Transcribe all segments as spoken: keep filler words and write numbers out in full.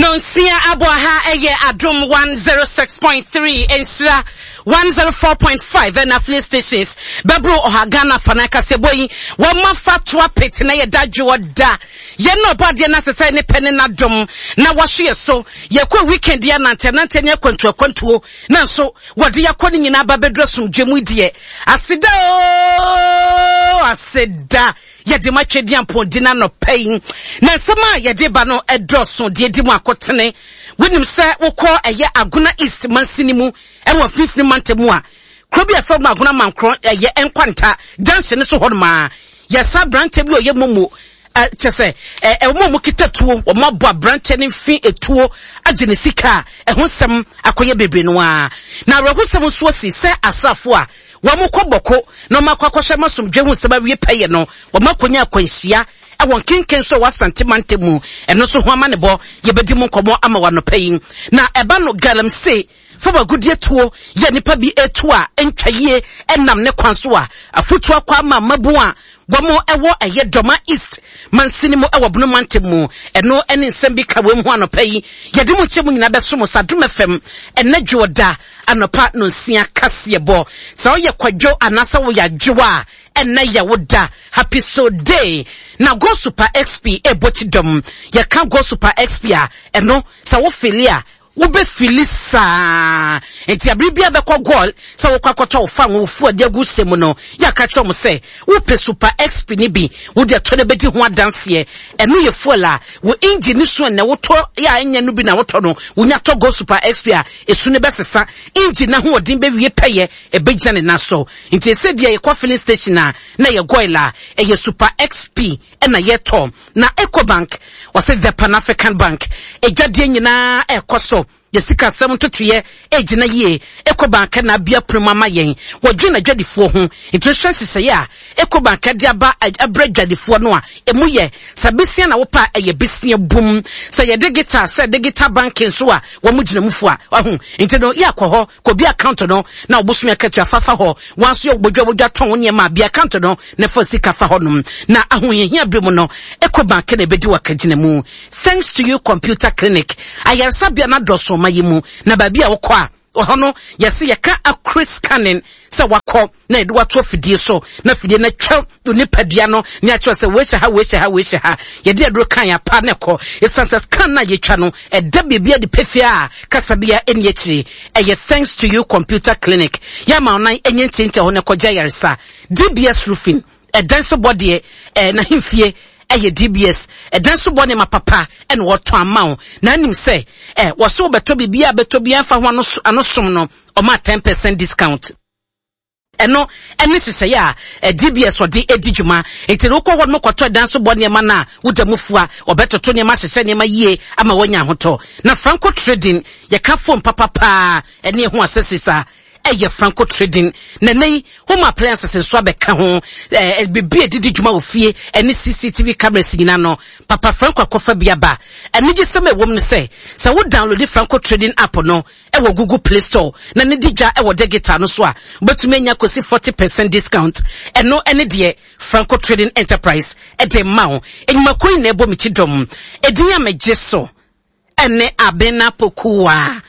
Nonsia abɔ ha ɛyɛ Adom one zero six point three Nhyira one zero four point five ɛna affiliate stations bɛboro ɔha Ghana fa na kaseɛbɔ yi wɔn afa to apete na yɛ da dwoɔ da yɛn na ɔbɔ adeɛ na sesɛ ne pɛ ne n'adom na wahwe yɛ so yɛkɔ weekend yɛ nante nante ne akwantuo akwantuo na nso wɔde yɛakɔ ne nyinaa ba bɛduru asomdwe mu deɛ aseda ooo aseda yɛde ma twɛdi ampɔndi na nɔpɛ yi na nsɛm a yɛde ba no ɛdɔɔso deɛ di mu akɔtene wonim sɛ wokɔ ɛyɛ Agona East mansini mu ɛwɔ mfimfini mantam mu a kuro bi a ɛfɛ mu Agona Mankorɔ ɛyɛ Nkwanta junction no so hɔ nom a yɛsa aberanteɛ bi a ɔyɛ momo kyɛ sɛ ɛwɔ mu kita tuo wɔn abɔ aberanteɛ no mfi etuo agye ne sika a ɛho nsɛm akɔyɛ bebree no a na awerɛhosɛm nso asi sɛ asraafo a wɔn kɔ bɔko na wɔn akɔ akɔhyɛ masomdwe ho nsɛm awie pɛyɛ no wɔn akɔnya akwanhyia ɛwɔ nkenken so wɔ Asante mantam mu ɛno nso ho ama ne bɔ yɛbɛdi mu nkɔmmɔ ama wɔ anɔpa yi na ɛba no galamsey fam agudeɛ tuo yɛ nipa bi etu a ntwa yie ɛnam ne kwan so a afotu akɔ ama mmabu a wɔn ɛwɔ ɛyɛ Dɔma East mansini mu ɛwɔ Bono mantam mu ɛno ɛne nsɛm bi ka wɔn ho anɔpa yi yɛde mu nkyɛn mu nyinaa bɛso mo sa Adom F M ɛnɛ dwoɔda anɔpa no nsia kaseɛ bɔ sɛ ɔyɛ kwadwo anaasɛ wɔyɛ adwoa a ɛnɛ yɛ wo da happy so day na Go Super X P ɛbɔ ti dɔm yɛka Go Super X P a ɛno sɛ wo fili a wobɛ fili saa nti abiri bia bɛkɔ goal sɛ wokɔ akɔtɔ wo fa wo fu ade agu hyɛ mu no yɛaka kyerɛ mo sɛ wopɛ Super X P ni bi wode atɔ no bɛdi ho adanseɛ ɛno yɛ fuel a wo engine no so ɛnɛ wotɔ yɛ a ɛnyɛ no bi na wotɔ no wonya tɔ Go Super X P a ɛsu no bɛsesa engine na hoɔden bɛwie pɛyɛ ɛbɛgyina ne nan so nti ɛsɛ deɛ yɛkɔ filling station a na yɛ goil a ɛyɛ Super X P ɛna yɛtɔ na Ecobank wɔsɛ the Pan African Bank edwadeɛ nyinaa ɛkɔ so yɛsika asɛm ntotoyɛ egyina yie Ecobank na abia pono ama yɛn wɔdwe na dwadifoɔ ho nti wohwɛ nhyehyɛeɛ a Ecobank de aba abrɛ dwadifoɔ no a emu yɛ sɛ besia na wopa ɛyɛ besia bum sɛ yɛ digital sɛ digital banking so a wɔn gyina mu fo a ɔho nti no yɛ akɔ hɔ kɔ bi account no na ɔbosom akatua fafa hɔ wɔn nso yɛ bodwa bodwa tɔn nneɛma bi account no na fa sika fa hɔ nom na ahohiahia bere mu no Ecobank na ebedi wɔ akagyina mu. Thanks to you computer clinic ayaresabea na dɔso ma yi mu na baabi a wokɔ a ɔhɔ no yɛsɛ yɛka accurate scanning sɛ wakɔ na yɛde wato afidie so na afidie no atwa onipadua no ne akyerɛ sɛ wei hyɛ ha wei hyɛ ha wei hyɛ ha yɛde aduro kan apa ne kɔ ɛsiane sɛ scan no a yɛtwa no ɛda biribi ade pefee a kasabea ɛni akyire ɛyɛ Thanks to you computer clinic yɛama ɔnan ɛnyɛ ntiantia hɔ no kɔgya yaresa D B S roofing ɛdan so bɔ deɛ ɛɛ n'ahemfie ɛyɛ D B S ɛdan so bɔ ne ma papa ɛna wɔtɔn ama wo na anim sɛ ɛ wɔso bɛtɔ biribi a bɛtɔ bi ɛmfa ho ano ano som no ɔma ten percent discount ɛno ɛne hyehyɛeɛ a D B S ɔde edi dwuma nti no wokɔ hɔ no kɔtɔ dan so bɔ nneɛma no a woda mu fua ɔbɛtoto nneɛma hyehyɛ nneɛma yie ama wɔanya ahotɔ na Franco Trading yɛka phone papapaa ɛne ɛho accessories a ɛyɛ Franco Trading na nei home appliances nso abɛka ho ɛɛ bibi edidi dwuma wɔ fie ɛne C C T V cameras nyinaa no papa Franco akɔfa bi aba ɛne gye sɛm ɛwɔ mu no sɛ sɛ wo download Franco Trading app no ɛwɔ Google Play Store na ne di dwa ɛwɔ digital no so a wobɛtumi anya kɔsi forty percent discount ɛno ɛne deɛ Franco Trading Enterprise ɛde ma wo enyimako yi na ɛbɔ me ti dɔm edin a megye so ɛne Abena Pokuwa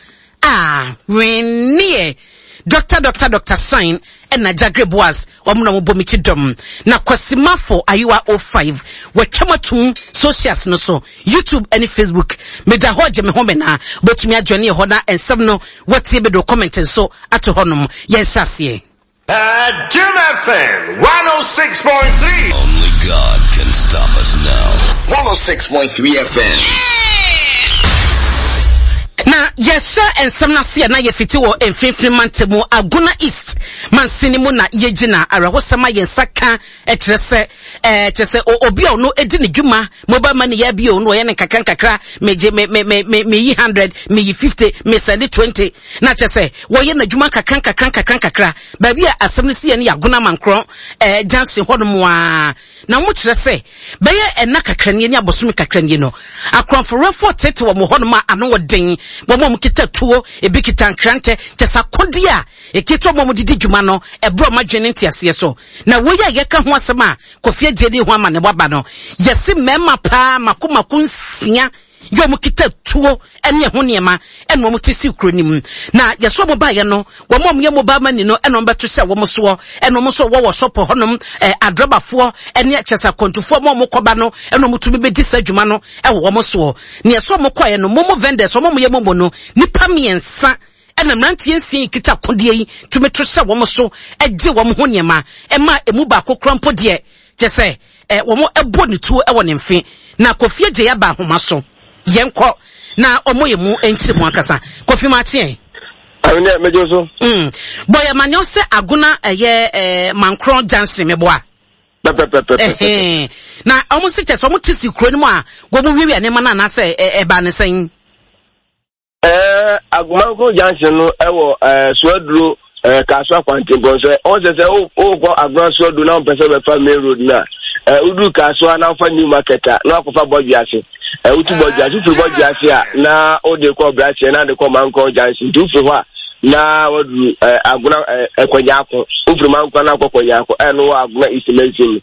a wenneɛ Doctor Doctor Doctor Sign ɛna Jagre Boas wɔn na wɔbɔ me ti dɔm na Kwasimafo Ayiwa oh five wɔtwam atum socials no so YouTube ɛne Facebook meda hɔ gye me ho me na bɛtumi adwane hɔ na nsɛm no wɔtie bɛdo comment nso ato hɔ nom yɛn hyɛ aseɛ. Adom F M one oh six point three. Only God can stop us now. one oh six point three F M. Na yɛhyɛ nsɛm no ase a na yɛfiti wɔ mfimfini mantam Agona East mansini mu na yɛgyina awerɛhosɛm a yɛn nsa ka kyerɛ sɛ ɛɛ kyerɛ sɛ obi a ɔno edi ne dwuma mobile money yɛ bi ɔno ɔyɛ ne nkakra nkakra megye me me me me meyi hundred meyi fifty me sɛde twenty na kyerɛ sɛ wɔyɛ n'adwuma nkakra nkakra nkakra nkakra baabi a asɛm no si yɛ no yɛ Agona Mankorɔ ɛɛ junction hɔ nom a na wɔn kyerɛ sɛ bɛyɛ ɛna kakra nie ne abosom kakra nie no akorɔmfoɔfoɔ tete wɔn hɔ nom a ano wɔ den wɔn a wɔn kita tuo ebi kita nkrantɛ kyɛ sɛ akodeɛ a ekita wɔn a wɔn didi dwuma no ɛbrɛ wɔn adwene ne nteaseɛ so na wɔyɛ a yɛka ho asɛm a Kofi Agye ne ho ama ne waba no yɛsi mmarima paa mako mako nsia Yɛ ɔmo kita tuo ɛne ɛho nneɛma ɛna ɔmo te si kuro no mu. Na yɛsɛ ɔmo baeɛ no, wɔn a ɔmo yɛ mobile money no ɛna ɔmo bɛto hyɛ wɔn soɔ, ɛna ɔmo nso wɔwɔ sɔpɔ hɔnom, ɛɛ adrɔbafoɔ ɛne kyɛsɛ akwantufoɔ mo a ɔmo kɔba no ɛna ɔmo tumi bɛdi saa adwuma no ɛwɔ wɔn soɔ. Na yɛsɛ ɔmo kɔɛ no, momo vendors, wɔn a ɔmo yɛ momo no, nipa mmiɛnsa ɛna mmeranteɛ nsia yi kita akodeɛ yi tumi to hyɛ wɔn so ɛgye wɔn ho nneɛma, ɛma emu baako kora mpo deɛ kyɛ sɛ ɛ wɔn ɛbɔ ne tuo ɛwɔ ne mfe. Na Kofi Agye aba ahoma so, yɛnkɔ na ɔmo yɛ mu nkyerɛ mu ankasa. Kofi Makyeɛ. Ɛnɛ megye so. Mm. Bɔyɛ ma nyɛ sɛ Agona ɛyɛ ɛɛ Mankron Junction meboa. Pɛpɛpɛpɛ. Ɛhɛn. Na ɔmo si kyɛ sɛ ɔmo te si kuro no mu a wɔn wiawia nneɛma no anaasɛ ɛ ɛbaa ne sɛn. Ɛɛ Agomanko Junction no ɛwɔ ɛɛ Suaduro ɛɛ Kasoa kwantempɔn so. Ɔn sɛ sɛ wokɔ Agona Suaduro na wɔpɛ sɛ wɔbɛfa main road no a, ɛɛ woduru Kasoa na wofa New Market a na wakɔfa Bɔdwe ase. Ɛɛ wotu Bɔdwe ase, wofiri Bɔdwe ase a na wode kɔ Brakyɛ na wode kɔ Mankron Junction. Nti wofiri hɔ a na waduru ɛɛ Agona ɛɛ Ɛkɔnyaako. Wofiri Mankron na akɔ Kɔnyaako, ɛno wɔ Agona East Mansin mu.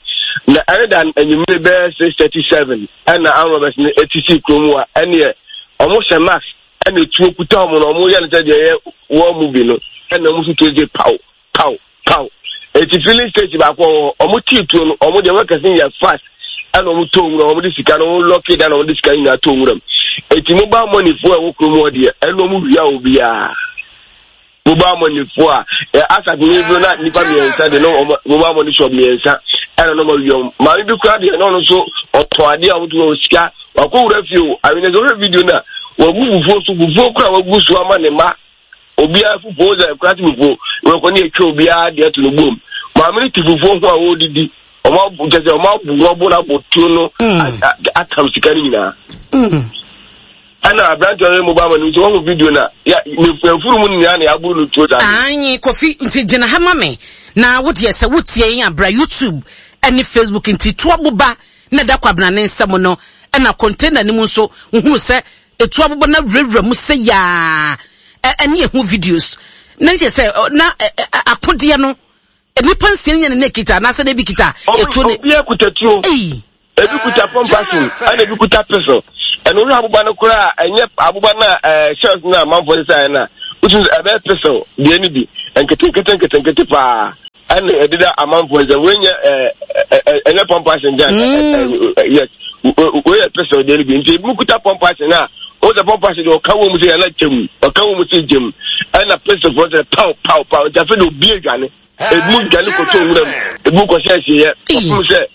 Na ɛne da anwummere bɛyɛ six thirty seven ɛna armed robbers no eti si kurom a ɛneɛ ɔmo hyɛ mask ɛna etuo kuta ɔmo na ɔmo yɛ no sɛ deɛ ɛyɛ wɔn mu bi no, ɛna ɔmo so tuo gye paw paw paw. Eti filling station baako wɔ hɔ, ɔmo tii tuo no, ɔmo deɛ workers no yɛ fast ɛna ɔmo tɔ nwura, ɔmo de sika no ɔmo lock down, ɔmo de sika nyinaa tɔ nwura mu. Eti mobile money foɔ a ɛwɔ kurom hɔ deɛ, ɛna ɔmo wia obiara. Mobile money foɔ a ɛ asase ne bi na nipa mmiɛnsa de no, ɔmo mobile money shop mmiɛnsa ɛna ɔmo awia ɔmo. Maame bi kura deɛ na ɔno nso ɔtɔn adeɛ a ɔmo to wɔ sika wakɔ wura fie o. Awene sɛ ɔhwɛ video na wagu fufuo so, fufuo kura wagu so ama ne mma obiara fufuo sɛ kura te fufuo wɔkɔ ne atwa obiara deɛ to no bom. Maame no te fufuo ho a wɔredidi, ɔmo abo kyɛ sɛ ɔmo abo wɔn abo n'abo tuo no atam sika no nyinaa. Ɛna aberante ɔyɛ mobile money nso wɔn video na ya ne mfuru mu nyinaa na yɛaboro no tuo saa. Ayi Kofi, nti gyina ha ma me na wo deɛ sɛ wotie yɛn abra YouTube ɛne Facebook. Nti to aboba na ɛda Kwabena ne nsam no, ɛna container no mu nso wohunu sɛ etu aboba na wurawura mu sɛ yaa ɛne ehu videos na nkyɛ sɛ na akodeɛ no nipa nsia nyɛ ne ne kita anaasɛ na ebi kita etuo ne. Obi akuta tuo. Ebi kuta pump action ɛna ebi kuta pistol. Ɛna ohwɛ aboba no koraa, ɛnyɛ aboba no a ɛɛ shells no a amanfoɔ sesa yɛ no a wotu sɛ ɛbɛyɛ pistol deɛ no bi nketenkete nketenkete paa ɛna ɛdeda amanfoɔ nsam. Wei nyɛ ɛɛ ɛɛ ɛnyɛ pump action gyan, ɛɛ yes, wei yɛ pistol deɛ no bi. Nti ebi mu kuta pump action a wɔn sɛ pump action deɛ ɔka wɔn mu sɛ yɛn kyɛm, ɔka wɔn mu sɛ gyem, ɛna pistol foɔ sɛ pow pow pow. Nti afei de obi adwane, ebi mu dwane kɔtɔ nwura mu, ebi mu kɔhyɛ asieɛ ɔfom sɛ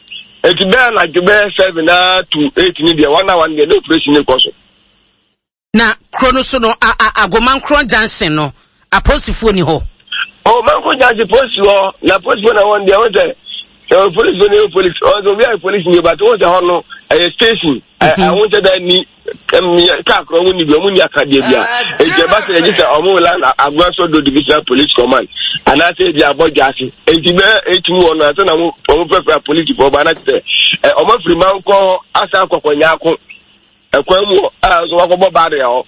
eti bɛyɛ anadwo bɛyɛ seven na to eight ni deɛ one hour ni deɛ ne operation ne kɔ so. Na kuro no so no, Agomankorɔ Junction no, apolisifoɔ ni hɔ. Ɔ Mankorɔ Junction polisi hɔ na polisifoɔ na wɔn deɛ wɔn sɛ ɛwɔ polisifoɔ ne yɛ polisi ɔn sɛ obi ayɛ polisi ni but wɔn sɛ hɔ no ɛyɛ station ɛho nkyɛ dɛ ni kaa korɔ ɔmo ni bi ɔmo ni akadeɛ bi a eti ɛba sɛ yɛgye sɛ ɔmo la Agona Sɔdo Divisional Police Command anaasɛ ebi abɔ dwa ase eti bɛyɛ etu wɔ no asɛ na ɔmo ɔmo fɛfɛ apolisifoɔ ba anase sɛ ɛ ɔmo afiri mankɔ hɔ asa akɔkɔ nyaako ɛkwan mu hɔ a nso wakɔbɔ baare hɔ.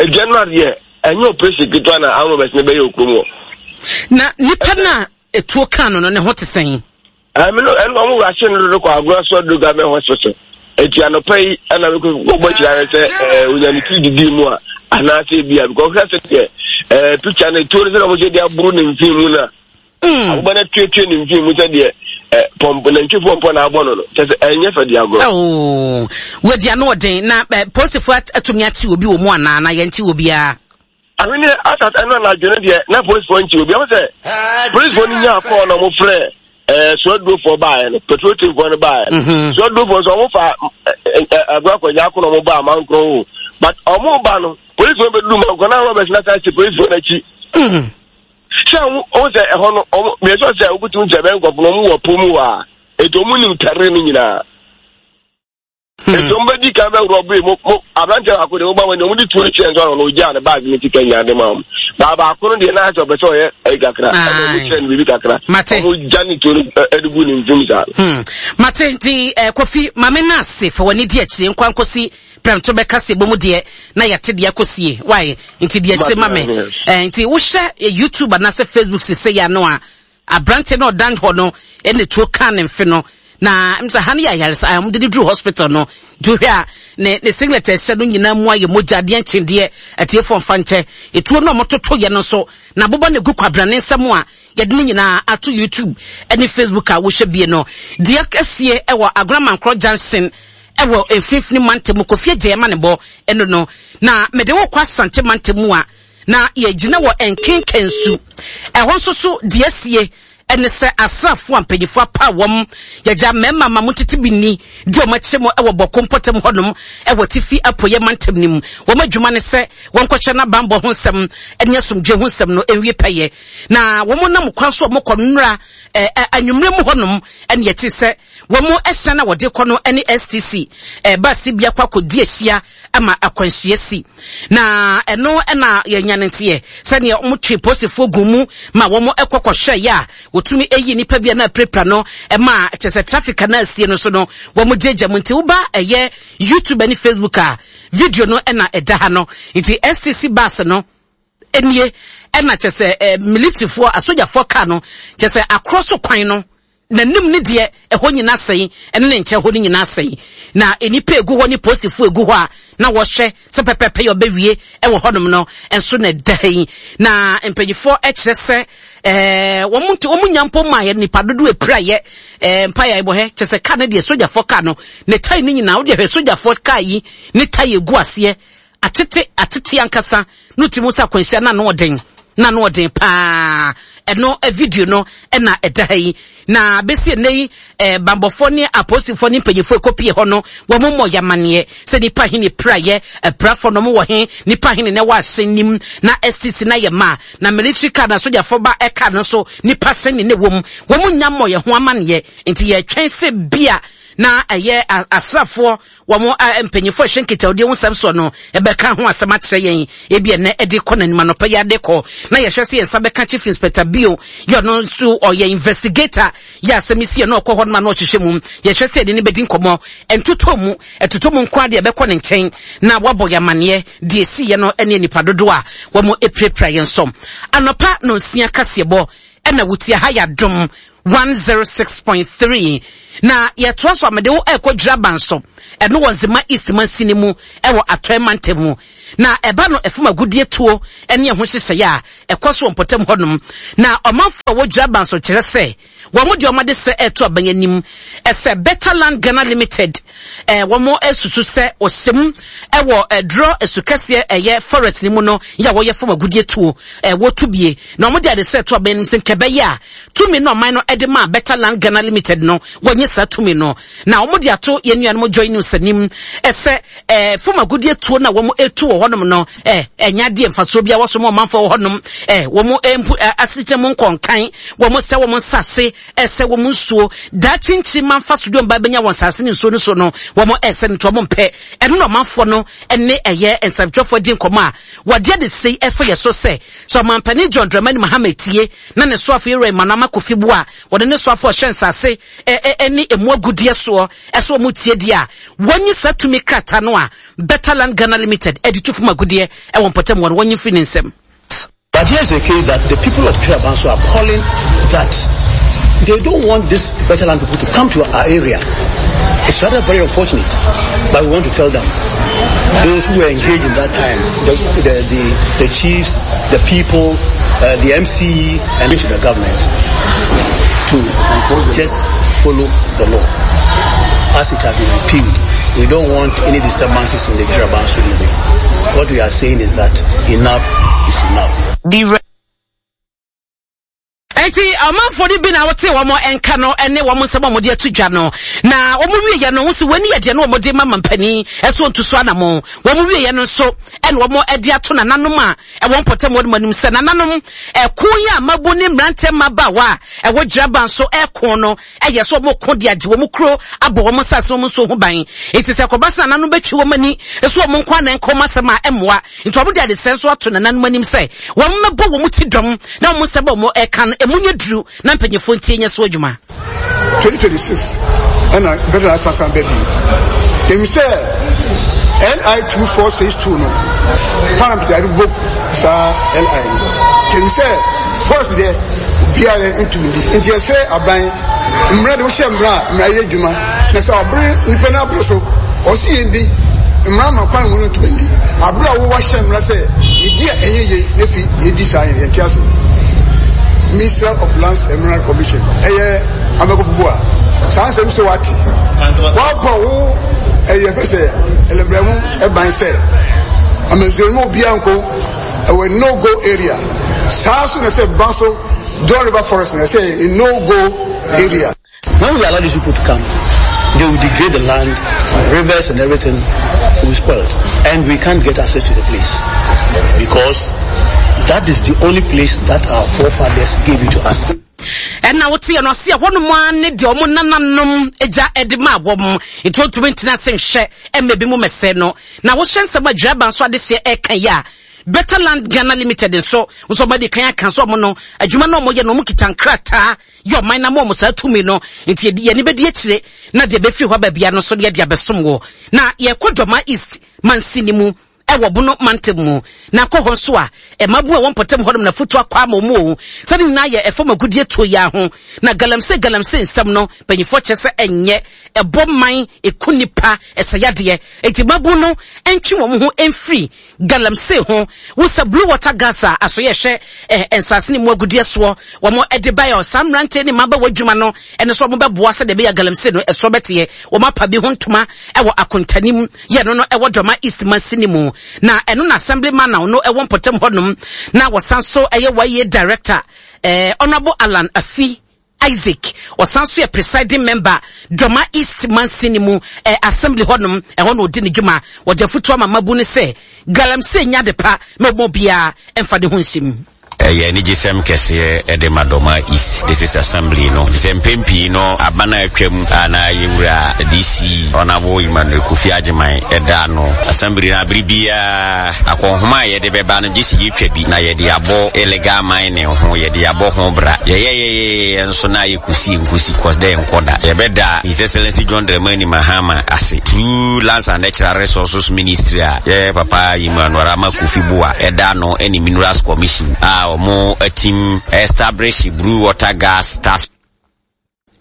Edwa no adeɛ ɛnyɛ operation ketewa na armed robbers ne bɛyɛ okurom hɔ. Na nipa na etuo kan no no ne ho te sɛn? Ɛmi no ɛnu ɔmo wura no dodo kɔ Agona Sɔdo Government Hospital. Eti anɔpa yi ɛna mi kɔ bɔ kyerɛ ayɛ sɛ ɛɛ onya ne tiri didi mu a anaasɛ ebi a because ɔhwɛ sɛ deɛ ɛɛ picture no etuo no sɛ ɔmo sɛ de aburo ne nfin mu na aboba no atuatua ne nfin mu sɛ deɛ ɛ pɔmpɔ nantwi pɔmpɔ na abɔ no no kyɛ sɛ ɛnyɛ fɛ de agorɔ. Oo, wadi ano ɔden na ɛ polisifoɔ atumi akyi obi wɔ mu anaa na yɛn kyi obiara? Ahene asas ɛno anadwo no deɛ na polisifoɔ nkyi obi. Ɛho sɛ polisifoɔ no nyaa kɔɔ na ɔmo frɛ ɛɛ suadurofoɔ baeɛ no, patrol teamfoɔ no baeɛ no, suadurofoɔ nso ɔmo fa ɛɛ Agorɔ Akɔnya ako na ɔmo ba Amankorɔ o, but ɔmo ba no polisifoɔ bɛduru Mankorɔ na robbers na san hyɛ polisifoɔ n'akyi sɛ ɔmo ɔmo sɛ ɛhɔ no ɔmo mmiɛnsa sɛ ɔmo sɛ ɛbɛn nkɔfo no ɔmo wɔ po mu hɔ a etu ɔmo nim tɛre no nyinaa. Nti ɔmo bɛdi kan bɛworɔ bee mo mo aberanteɛ baako deɛ mo ba wɔn ni ɔmo de tuo no kyerɛ nso ɔno ogyaa ne baagi ne sika nyinaa de ma ɔmo baa baako no deɛ n'ayɛ sɛ ɔpɛ sɛ ɔyɛ ɛyi kakra, ɛna ɔmo kyerɛ no biribi kakra, ɔmo gya ne tuo no ɛde gu ne nfim saa. Mate. Nti eh, Kofi maame no ase fa w'ani di akyire nkwa nkosi prɛmto bɛka sɛ bɔ mu deɛ na yɛte deɛ akɔsie wae. Nti deɛ akyire ma me eh, nti wohyɛ YouTube anaasɛ Facebook sese yɛ ano a, aberante no ɔdan hɔ no ɛna tuo ka ne mfe no. Na msa ha no yɛ ayaresa a wɔde de duru hospital no. Nti wohwɛ a ne ne singlet a ɛhyɛ no nyinaa mu ayɛ mogya adeɛ nkyendeɛ. Atiefoɔ mfa nkyɛ. Etuo no a wɔtoto yɛ no nso na aboba no egu kwabena ne nsam a yɛde ne nyinaa ato YouTube ne Facebook a wohwɛ bie no. Deɛ kɛseɛ ɛwɔ Agona Mankorɔ Junction ɛwɔ mfimfini mantam mu, Kofi Adjei Amanebɔ ɛno no. Na mede wo kɔ Asante mantam mu a na yɛgyina wɔ Nkenkansu. Ɛhɔ nso so deɛ asie ɛne sɛ asraafoɔ a mpanyinfoɔ apa wɔn yɛgya mmarima ma mo tete bi ni di wɔn akyɛ mu ɛwɔ Bɔko mpɔtam hɔnom ɛwɔ Tifi Apueɛ mantam no mu. Wɔn adwuma ne sɛ wɔnkɔhyɛ n'abanbɔ ho nsɛm ɛne asomdwe ho nsɛm no nwie pɛyɛ. Na wɔn nam kwan so a wɔkɔ nnora ɛɛ anwummerɛ mu hɔnom ɛne yɛte sɛ wɔn ɛhyɛn a wɔde kɔ no ɛne S T C ɛɛ baasi bi akɔ akɔdi ahyia ama akwanhyia si. Na ɛno ɛna yɛnya ne nteɛ sɛdeɛ wɔn twe polisifoɔ gu mu ma wɔn ɛkɔ kɔhwɛ yɛ a wɔtumi ɛyi nipa bi a na apirapira no, ɛma kyɛ sɛ traffic a na asie no so no wɔn gyegya mu. Nti woba ɛyɛ YouTube ne Facebook a, video no ɛna ɛda ha no. Nti S T C bus no nie, ɛna kyɛ sɛ ɛɛ militaryfoɔ, asogyafoɔ kaa no kyɛ sɛ akorɔ so kwan no n'anim ne deɛ ɛhɔ nyinaa sɛn, ɛne ne nkyɛn hɔ no nyinaa sɛn, na nnipa egu hɔ ne polisifoɔ egu hɔ a na wɔhwɛ sɛ pɛpɛpɛ yɛ ɔbɛwie ɛwɔ hɔnom no nso na ɛda ha yi. Na mpanyinfoɔ ɛkyerɛ sɛ ɛɛ wɔn nti wɔn nya mpo maa yɛ nipa dodo epira yɛ ɛɛ mpa yɛ ɛbɔ hɛ kyerɛ sɛ kaa no deɛ, sogyafoɔ kaa no ne tae no nyinaa, wɔde hwɛ sogyafoɔ kaa yi ne tae egu aseɛ atete atete ankasa no ti mu sɛ akwanhyia na ano ɔden, na ano ɔden paa. Ɛno video no ɛna ɛda ha yi. Na bɛsi ɛnɛ yi ɛɛ bambɔfoɔ ne apolisifoɔ ne mpanyinfoɔ ekopie hɔ no, wɔn mmɔ yamaneɛ sɛ nipa he ne praeɛ apirafoɔ no wɔ he, nipa he ne na ɛwɔ ahyɛn nim na S T C na yɛ ma na military car na sogyafoɔ ba ɛka no nso nipa sɛn ne ne wɔ mu. Wɔn nya mmɔ yɛn ho amaneɛ, nti yɛtwɛn sɛ bia na ɛyɛ asraafoɔ wɔn mpanyinfoɔ ɛhyɛ nkitahodie ho nsɛm soɔ no ɛbɛka ho asɛm akyerɛ yɛn. Ebi ɛnɛ ɛde kɔ n'anim anɔpɛ yi ade kɔ na yɛhwɛ sɛ yɛn nsa bɛka Chief Inspector Bio yɛ, ɔno nso ɔyɛ investigator yɛ asɛm si yɛ na ɔkɔ hɔ nom a na ɔhyehyɛ mu. Yɛhwɛ sɛ yɛde ne bɛdi nkɔmɔ ntotɔ mu ɛtotɔ mu nko adeɛ ɛbɛkɔ ne nkyɛn na wabɔ yɛ amaneɛ deɛ esi yɛ no ɛne nipa dodoɔ a wɔn apirapira yɛn nsɔm. Anɔpa na nsia kaseɛbɔ ɛna wutia ha yɛ Adom one zero six point three. Na yɛtoa so amede wo ɛkɔ Dwiraban so, ɛno wɔ Nzema East mansini mu ɛwɔ Atɔe mantam mu. Na ɛba no ɛfam agudie tuo ɛne ɛho nhyehyɛeɛ a ɛkɔ so wɔ mpɔtam hɔnom, na ɔmanfo a wɔ Dwiraban so kyerɛ sɛ wɔn deɛ ɔmade sɛ ɛto aban anim ɛsɛ Better Land Ghana Limited ɛɛ wɔn asusu sɛ ɔhyɛm ɛwɔ ɛdorɔ esukɛseɛ ɛyɛ forest ne mu no yɛ a wɔyɛ fam agudie tuo ɛɛ wɔtu bie. Na wɔn de ade sɛ ɛto aban anim sɛ nkɛbɛyɛ a tumi no ɔman no ɛde maa Better Land Ghana Limited no, wɔnyɛ saa tumi no. Na wɔn de ato yɛn nuanom Joy News anim ɛsɛ ɛɛ fam agudie tuo na wɔn etu wɔ hɔnom no ɛɛ ɛnya adeɛ mfasoɔ bi a wɔso mo ɔmanfoɔ wɔ hɔnom ɛɛ wɔn mpu ɛɛ asekyerɛ mu nkɔnkan wɔn sɛ wɔn nsase ɛsɛ wɔn nsuo daakye nkyi ma nfa so de wɔn ba bɛnya wɔn nsase ne nsuo no so no, wɔn ɛsɛ no nti wɔn mpɛ ɛno. Na ɔmanfoɔ no ɛne ɛyɛ nsɛmtwerɛfoɔ di nkɔmɔ a wɔde ade sei ɛfɛ yɛ so sɛ sɛ ɔmampanin John Dramani Mahama tie na ne soafo yɛwura Emmanuel Armah Kofi Buah a wɔde ne soafo ɔhyɛ nsase ɛne emu agudeɛ soɔ ɛso wɔn tie deɛ a wɔnyi saa tumi krataa no a Better Land Ghana Limited ɛde tu fam agudeɛ ɛwɔ mpɔtam wɔn wɔnyi firi ne nsam. But here's the case that the people of Twirabanso are calling that they don't want this Better Land people to come to our area. It's rather very unfortunate, but we want to tell them, those who were engaged in that time, the, the, the, the chiefs, the people, uh, the M C E, and to the government to just follow the law as it has been repealed. We don't want any disturbances in the Twirabanso area. What we are saying is that enough is enough. The Eti ɔmanfoɔ no bi na wɔte wɔn nka no ne wɔn nsɛm a wɔde ato dwa no. Na wɔn wieɛ no, wɔn si wɔn ani yɛ deɛ no wɔn de ma mampanin ɛso nto so anamo. Wɔn wieɛ no nso ɛna wɔn de ato nananom a ɛwɔ mpɔtam wɔn anim sɛ nananom, ɛko yi a mabu ne mmeranteɛ mmabaawa a ɛwɔ Gyiraban so ɛko no ɛyɛ sɛ wɔn ko de agye wɔn kuro abɔ wɔn nsase wɔn nsuo ho ban. Eti sɛ kɔba sɛ nananom bɛtwi wɔn ani so wɔn nko anan kɔn asɛm a ɛmmoa, nti wɔn de adesrɛ nso ato nananom anim sɛ wɔn mmɛbɔ wɔn ti dɔm na wɔn nsɛm a wɔn ɛka no emu nyɛ duru na mpanyinfoɔ ntie nyɛ so adwuma. twenty twenty-six ɛna Better asansan bɛ bi emi sɛ L I two four six two no, Parliament yɛde revoke saa L I no. Kɛmi sɛ force deɛ obiara ntumi di, nti ɛsɛ aban Mmara de wohyɛ mmara a, mmara yɛ adwuma. Na sɛ ɔbere nipa no aboro so, ɔsi yɛn di. Mmara ma kwan mu no ntoma ndi. Abere a wowɔ ahyɛ mmara sɛ yɛdi a ɛnyɛ yie na fi yɛdi saa yɛn yɛnte ase. Minister of Lands and Mineral Commission ɛyɛ Amakɔfubu a saa nsɛm sɛ wate. Wabɔ wo ɛyɛ fɛ sɛ ɛlɛmbrɛ ho ɛban sɛ amansuo no obiara nko ɛwɔ no go area. Saa so na sɛ ba so Don River Forest na sɛ no go area. When we allow these people to come, they will degrade the land, rivers and everything will be spoiled. And we can't get access to the place because that is the only place that our forefathers gave it to us. Ɛna wote yɛ no ɔse ɛhɔnom a ne deɛ ɔmo nananom agya ɛde maa wɔn, nti ɔntumi ntena ase nhwɛ ɛma ebi mu mɛsɛ no. Na wohyɛ nsɛm a Dwuraba nso adehyeɛ ɛka yi a, Better Land Ghana Limited nso nso ɔmo adi kan aka nso ɔmo no adwuma na ɔmo yɛ no, ɔmo kita nkrataa yɛ ɔman na ma ɔmo saa tumi no, nti yɛni bɛdi akyire na deɛ bɛfiri hɔ aba bia no nso deɛ de abɛsom wɔ. Na yɛkɔ Dɔma East mansini mu ɛwɔ Bono mantam mu, na kɔ hɔ nso a ɛmabu a wɔn mpɔtam hɔnom na foto akɔ ama wɔn o sɛde nyinaa yɛ ɛfam agudie tuo yi ho. Na galamsey galamsey nsɛm no, mpanyinfoɔ kyerɛ sɛ ɛnyɛ ɛbɔ man, eku nipa, ɛsɛ yadeɛ, eti mabu no ntwe wɔn ho mfiri galamsey ho. Wosɛ Blue Water Gas a aso yɛ hwɛ ɛɛ nsase ne mu agudie soɔ wɔn ɛde ba yɛ saa mmeranteɛ ne mmabaawa adwuma no, ɛno nso wɔn bɛboa sɛ deɛ ɛbɛyɛ galamsey no ɛsoɔ bɛteɛ. Wɔn apa bi ho ntoma ɛwɔ akontanim yɛ no no ɛwɔ Dɔma East mansini mu, na ɛno na assemblyman na ɔno ɛwɔ mpɔtam hɔnom na wɔsan so ɛyɛ wɔyɛ director ɛɛ Honourable Alan Afi Isaac, ɔsan so yɛ presiding member Dɔma East mansini mu ɛ assembly hɔnom, ɛhɔ na ɔdi ne dwuma. Wɔde afutuo ama mabu ne sɛ galamsey nya de pa na ɔmɔ biara ɛmfa ne ho nhyɛ. Ɛyɛ anigyesɛm kɛseɛ ɛde ma Dɔma East District Assembly no, sɛ mpɛn pii no aba no atwam a na yɛwura D C Honourable Emmanuel Kofi Agyeman ɛda no assembly no, abere biara akɔnhoma a yɛde bɛba no gye sɛ yɛtwa bi na yɛde abɔ illegal mining ho, yɛde abɔ ho bra. Yɛyɛyɛyɛyɛ nso na yɛkɔsi nkosi kɔs dɛ nkɔda. Yɛbɛda His Excellency John Dramani Mahama ase through Lands and Natural Resources Ministry a yɛ papa Emmanuel Arama Kofi Boa ɛda no, ɛne Minerals Commission a ɔmo atim establish Blue Water Gas Task.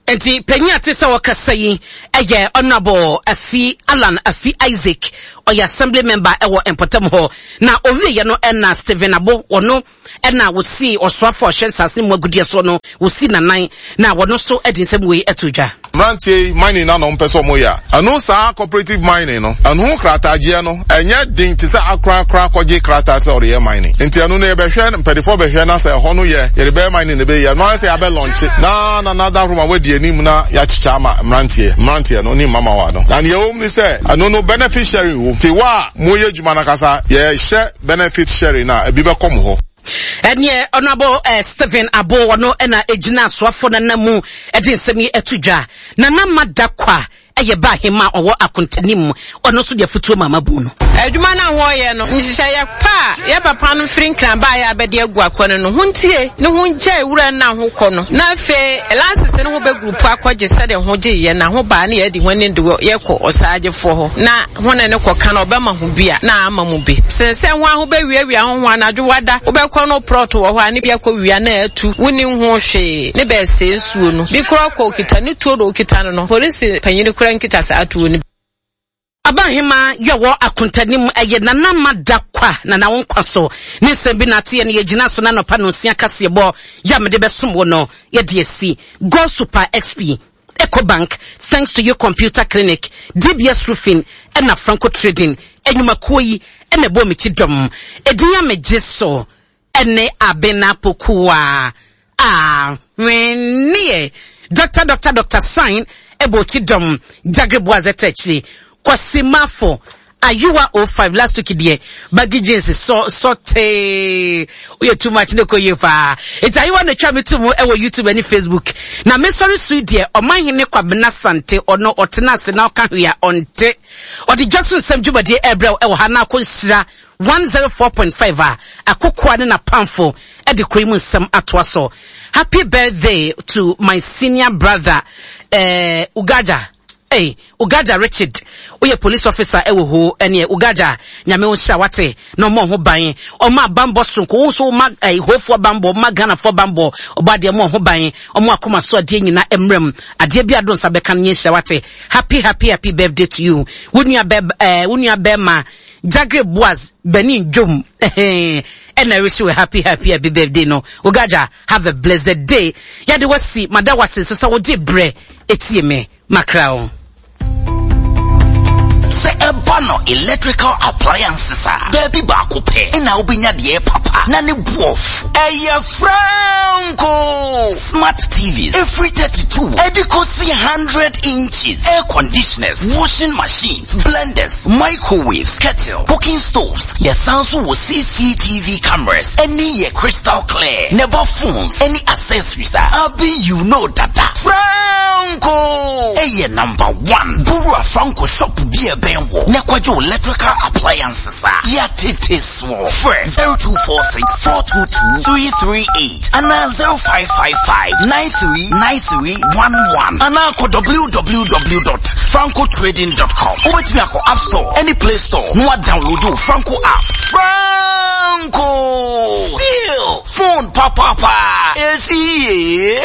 Nti panyin a te sɛ wɔkasa yi ɛyɛ Honourable Afi Alan Afi Isaac, ɔyɛ assembly member ɛwɔ mpɔtam hɔ. Na owieɛ no, ɛna Stephen Abo, wɔno ɛna wɔsi ɔsoafo a ɔhyɛ nsase ne mu agudeɛ soɔ no, wɔsi nanan na wɔno nso ɛde nsɛm wei ɛto dwa. Mmeranteɛ yi, mining na na ɔmpɛ sɛ ɔmo yɛ a, ɛno saa cooperative mining no, ɛno ho kratagyeɛ no ɛnyɛ den te sɛ akorakora kɔgye krataa sɛ ɔde yɛ mining. Nti ɛno no yɛbɛhwɛ, mpanyinfoɔ bɛhwɛ na sɛ ɛhɔ no yɛ yɛde bɛyɛ mining na ɛbɛyɛ ɛno ayɛ sɛ yɛabɛ launch na na na da roma wadi anim na yɛakyekyɛ ama mmeranteɛ mmeranteɛ no ne mmamawa no. Na nea ɛwɔ mu ne sɛ ɛno no benefit sharing wɔ nti wa a moyɛ adwuma no kasa, yɛhyɛ benefit sharing na ebi bɛkɔ mo hɔ. Ɛneɛ Honourable eh, Stephen Abo, ɔno ɛna egyina asoafo nana mu ɛde nsɛm yi ɛto dwa. Nana Madakwa ɛyɛ ba ahema a ɔwɔ akontanim, ɔno nso de afutuo ma amabu no. Adwuma no a wɔreyɛ no, nhyehyɛeɛ pa a yɛ papa no firi Nkran baeɛ a bɛde agu akɔ no no ho ntie ne ho ngyae wura no a ho kɔ no, na afei license no ho bɛgroup akɔgye sɛdeɛ ho gyeeɛ na ho baa ne yɛadi ho anim de yɛkɔ ɔsaagyefoɔ hɔ na ho ne ne kɔka no, ɔbɛma ho bi a na ama mu bi sen sɛ ho a ho bɛwiawia ho ho anadwo wada wobɛkɔ no plot wɔ hɔ a ne bi akɔ wia na atu wonni ho hwee ne bɛɛsɛe nsuo no bi koraa kɔ okita ne tuo do okita no no polisi panyin koraa nkita saa tuo no. Abahema yɛwɔ akontanim ɛyɛ Nana Madakwa, Nana wo nkwa so ne nsɛm bi nate no yɛgyina so na nɔpa no nsia kaseɛbɔ yɛ a mede bɛsom wo no yɛde asi Go Super X P, Ecobank, Thanks to You Computer Clinic, D B S Roofing ɛna Franco Trading enyumakuo yi ɛna ɛbɔ me ti dɔm. Edin a megye so ɛne Abena Pokuwa a hweneɛ Doctor Doctor Doctor Sign ɛbɔ ti dɔm Jagre Boaz ɛtɛ akyire Kwasi Mafo Ayiwa oh five. Last week deɛ, baggy jeans sɔ sɔ tee, woyɛ too much ne kɔ yie paa. Eti Ayiwa na atwa me to mu ɛwɔ YouTube ɛne Facebook. Na mesɔre so yi deɛ, Ɔmanhene Kwabena Sante, ɔno ɔtena ase na ɔka hwee a ɔnte. Ɔde dwa so nsɛm dwumadie ɛrebrɛw ɛwɔ ha na akɔ Nhyira one oh four point five a akokoa ne n'apamfo ɛde kuro yi mu nsɛm atoa so. Happy birthday to my senior brother, eh, Ugaja. Ei, Ugaja Richard, woyɛ police officer ɛwɔ hoo, ɛneɛ Ugaja, Nyame wo nhyira wate, na ɔmɔ ho ban, ɔma bambɔ sonko, wo nso woma eh, hofoɔ bambɔ, ɔma Ghanafoɔ bambɔ, ɔbɔ adeɛ mɔ ho ban, ɔmo akoma so adeɛ nyina mmerɛm, adeɛ bi ado nsa bɛka no nyɛ nhyira wate. Happy, happy, happy birthday to you. Wo nua bɛ, eh, wo nua bɛma, Jagre Boaz, Benin Dwom, eh, ɛna wish you a happy, happy, happy birthday no. Ugaja, have a blessed day. Yɛde wasi, mada wase, so sɛ wogye brɛ, etie me. Macrao. Sɛ ɛba no electrical appliances a, baabi baako pɛ ɛna wobɛnya deɛ papa na ne boɔfo ɛyɛ Franco. Smart T Vs ɛfiri thirty-two ɛde kɔsi one hundred inches, air conditioners, washing machines, blenders, microwaves, kettle, cooking stoves. Yɛsan so wɔ C C T V cameras ɛne yɛ crystal clear neba phones ɛne accessories a abi you know dada. Franco ɛyɛ number one. Bowura Franco shop bi a ɛbɛn wɔ na kɔgye electrical appliances a yɛatete soɔ. Frɛ zero two four six four two two three three eight anaa zero five five five nine three nine three one one anaa kɔ w w w dot francotrading dot com. Wobɛtumi akɔ App Store ɛne Play Store na wadownload wo Franco app. Franco still phone papapa ɛsi.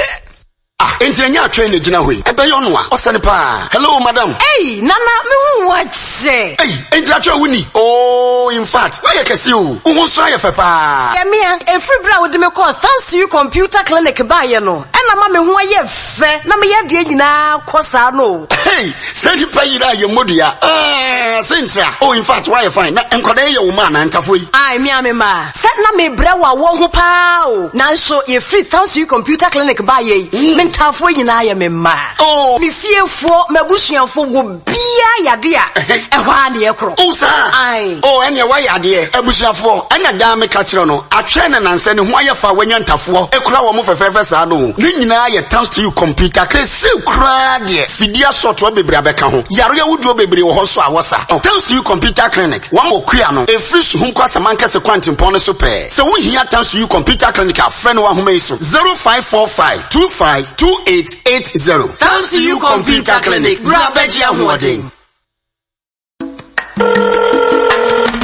Ah, enti ɛnyɛ atwɛn na gyina hɔ yi. Ɛbɛyɛ ɔno a, ɔsɛne paa. Hello, madam. Ei, Nana, mehu wo akyɛ. Ei, enti atwɛn wo ni. Oh, in fact, woayɛ kɛse o. Wo ho nso ayɛ fɛ paa. Yɛmea, ɛfiri berɛ a wode me kɔɔ Thanks You Computer Clinic baeɛ no, ɛna ma me ho ayɛ fɛ na meyɛ adeɛ nyinaa kɔ saa no. Hey, sɛ nipa yi na yɛ mmɔdua. Ah, sɛ ntra. Oh, in fact, woayɛ fine. Na nkwadaa yi yɛ wo ma anaa ntafo yi? Ai, mea me ma. Sɛ na mebrɛ wɔ awɔ ho paa o. Nanso, yɛfiri Thanks You Computer Clinic baeɛ yi, me ntaafoɔ nyinaa yɛ me mma. Oh. Me fiefoɔ, m'abusuafoɔ, wɔ biara yade a, ɛhɔ ara ne yɛkorɔ. Oh, saa. Ai. Oh, ɛneɛ woayɛ adeɛ. Abusuafoɔ, ɛna daa meka kyerɛ no, atwɛn na nansɛ ne ho ayɛ fa a wanya ntafoɔ. Ekura wɔn mo fɛfɛɛfɛ saa no. Ne nyinaa yɛ Thanks To You Computer. Kɛse koraa deɛ, fidie asɔtoɔ bebree abɛka ho. Yare ahodoɔ bebree wɔ hɔ nso a wɔsa. Oh, Thanks To You Computer Clinic, wɔn wɔ kua no, efiri Suhum kɔ Asamankɛse kwantempɔn no so pɛɛ. Sɛ wohia Thanks To You Computer Clinic a, frɛ no wɔ ahoma yi so, zero five four five two five two eight eight zero. Thanks To You Computer Clinic, bra bɛgye ahoɔden.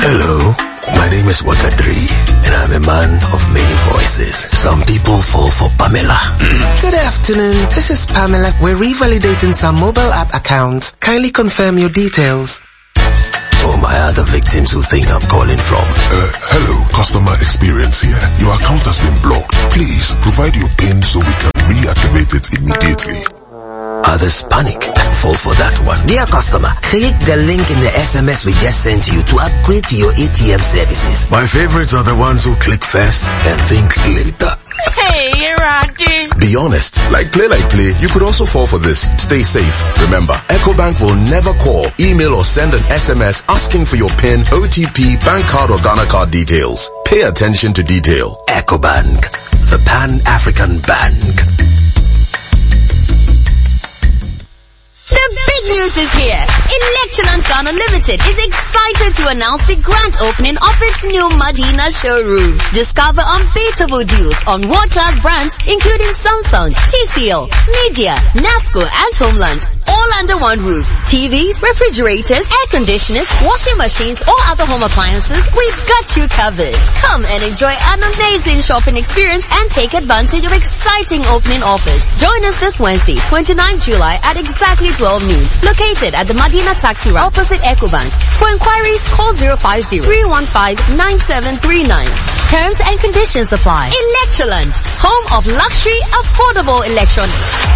Hello, my name is Wakadri, and I'm a man of many voices. Some people fall for Pamela. Good afternoon. This is Pamela. We're revalidating some mobile app accounts. Kindly confirm your details. For my other victims who think I'm calling from. Uh, hello, customer experience here. Your account has been blocked. Please provide your PIN so we can reactivate it immediately. Others panic and fall for that one. Dear customer, click the link in the S M S we just sent you to upgrade to your A T M services. My favorites are the ones who click first and think later. Hey, Raji. Be honest. Like play, like play, you could also fall for this. Stay safe. Remember, EcoBank will never call, email or send an S M S asking for your PIN, O T P, bank card or Ghana card details. Pay attention to detail. EcoBank, the Pan-African Bank. The big news is here. Electroland Ghana Limited is excited to announce the grand opening of its new Madina showroom. Discover unbeatable deals on world-class brands including Samsung, T C L, Midea, Nasco and Homeland. All under one roof. T Vs, refrigerators, air conditioners, washing machines or other home appliances, we've got you covered. Come and enjoy an amazing shopping experience and take advantage of exciting opening offers. Join us this Wednesday, twenty-nine July at exactly twelve noon. Located at the Madina Taxi Rank opposite EcoBank. For inquiries, call zero five zero, three one five, nine seven three nine. Terms and conditions apply. Electroland, home of luxury, affordable electronics.